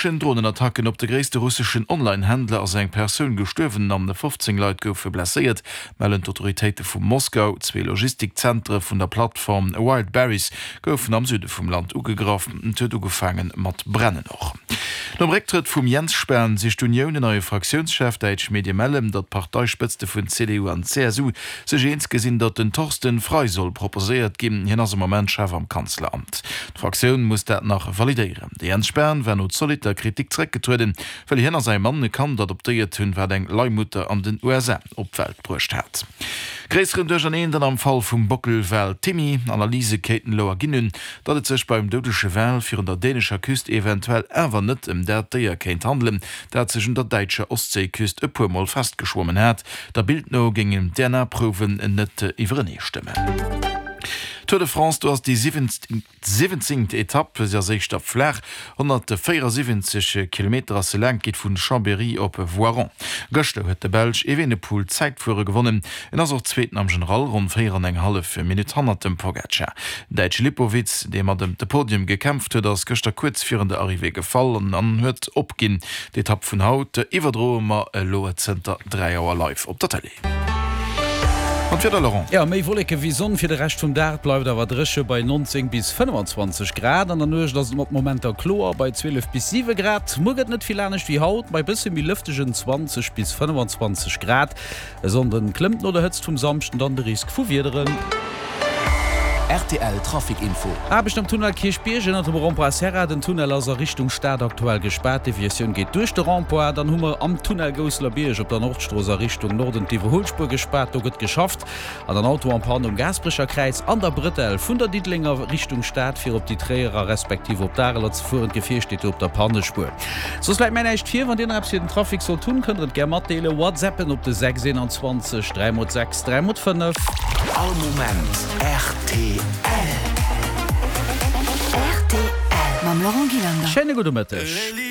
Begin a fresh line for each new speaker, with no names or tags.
Dronenattacken op de gréisste russeschen Online-Händler ass eng Persoun gestuerwen an 15 Leit goufe blesséiert, mellen d'Autoritéite vu Moskau. Zwee Logistikzentere vun der Plattform Wildberries goufen am Süde vum Land ugegraff. Et huet ugefaange mat brennen. Och nom Récktrëtt vum Jens Spahn sicht d'Unioun en neie Fraktiounschef. Däitsch Medie mellen, datt d'Parteispëtzte vun CDU an CSU sech eens gesinn, datt den Thorsten Frei soll proposéiert ginn. Hien ass am Moment Chef am Kanzleramt. D'Fraktioun muss dat nach validéieren. De Jens Spahn war no zolitter Kritik zeréckgetrueden, well hien a säi Mann e Kand adoptéiert hunn, wat eng Leihmutter an den USA op d'Welt bruecht hat. Gréisseren Duercherneen dann am Fall vum Bockelwal Timmy. Analyse kéinten elo erginn hunn, datt et sech beim doudege Wal virun der dänescher Küst eventuell awer net ëm dat Déier kéint handelen, dat sech un der däitscher Ostséiküst e puer Mol festgeschwommen hat. Der Bild no géingen d'DNA-Prouwen net iwwereneestëmmen. Tour de France, do ass déi 17. Etapp, se ass éischter flaach, 174 Kilometer ass se laang, geet vu Chambéry op Voiron. Gëschter huet de Belsch Evenepoel d'Zäitfuere gewonnen. En ass och Zweeten am General, ronn 4 an eng hallef Minutt hannert dem Pogacar. Den Däitsche Lipowitz, dee mat ëm de Podium gekämpft huet, ass gëschter kuerz virun der Arrivée gefall an huet opginn. D'Etapp vun haut iwwerdroe mer elo zënter 3 Auer live op der Tëlee. An d'Wieder, Laurent?
Jo, méi Wolleke wéi Sonn fir de Rescht vum Dag. Et bleift awer dréche bei 19 bis 25 Grad. An der Nuecht ass et mat Momenter kloer bei 12 bis 7 Grad. Muer gëtt net vill anescht wéi haut, bei bësse méi lëftegen 20 bis 25 Grad. E Sonnden klëmmt no der Hëtzt vum Samschden dann de Risk vu Wiederen.
Rtl Trafic Info.
Aarbecht am Tunnel Kierchbierg ënnert dem Rond-point Serra. Den Tunnel ass a Richtung Stad aktuell gespaart. Deviatioun geet duerch de Rond-point. Dann hu mer am Tunnel Gousseler Bierg op der Nordstrooss a Richtung Norden d'Iwwerhuelspuer gespaart. Do gëtt geschafft. An dann Auto en panne um Gaasperecher Kräiz an der Bretelle vun der Diddelenger Richtung Stad fir op déi Tréierer respektiv op d'Areler ze fueren. D'Gefier steet do op der Pannespuer. Soss läit mär näischt vir. Wann dir nach eppes fir den Trafic sollt hunn, kënnt der et gär matdeelen. Whatsappen op de 6 21 3 mol 6 3 mol 5.
All Moment rtl.
Rtl mam Laurent Gillander.
Schéine gudde Mëtteg.